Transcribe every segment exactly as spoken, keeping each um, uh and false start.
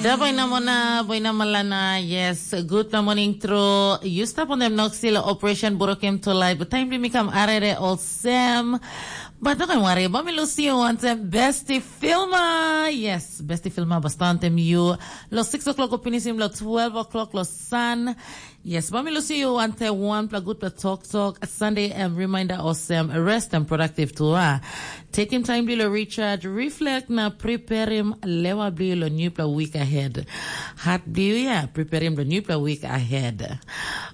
Da boina mona, boina malana, yes, good na morning tru. You stap on them noxil operation burokim to life, but time mi kam arere olsem. But don't worry, ba mi lusi you wantem besti filma. Yes, besti filma bastantem you. Lo six o'clock o pinisim lo twelve o'clock lo sun. Yes, ba mi lusi you wante one pla good pla talk talk. Sunday em reminder olsem rest and productive to ah. Taking time bilo recharge, reflect na preparing lewa bilo new pla week ahead. Hat bio ya, preparing the new pla week ahead.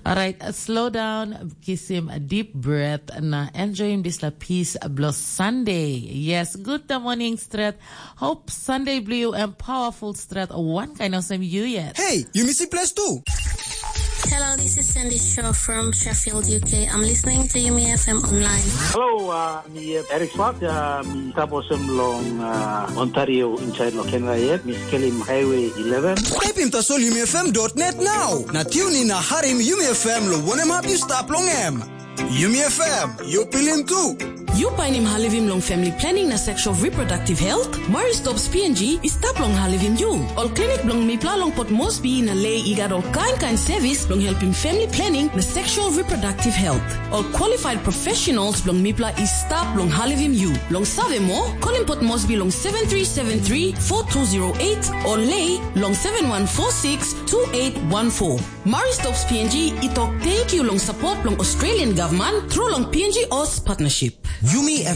All right, slow down, kiss him a deep breath na enjoy him this la peace blo Sunday. Yes, good the morning stret. Hope Sunday blue and powerful stret one kind of same you yet. Hey, you miss place too. Hello, this is Sandy Shaw from Sheffield, U K. I'm listening to Yumi F M online. Hello, uh, mi uh, Eric Swart, uh, mi taposem long uh, Ontario inside lo Canada yet. Mi skelim Highway eleven. Type in tasol yumi F M dot net now. Na tune in na harim Yumi F M lo wanem hap you stap long em. Yumi F M, you pilim tu. You painim halivim long family planning na sexual reproductive health? Murray Stops P N G i stap long halivim you. Ol klinik bilong mipla long Port Moresby na Lay i gat ol kain kain sevis bilong helpim family planning na sexual reproductive health. Ol qualified professionals bilong mipla i stap long halivim you. Long save moa, kolim Port Moresby long seven three seven three four two zero eight o Lay long seven one four six two eight one four. Murray Stops P N G i tok thank you long support bilong Australian government through long P N G Oz partnership. Yumi F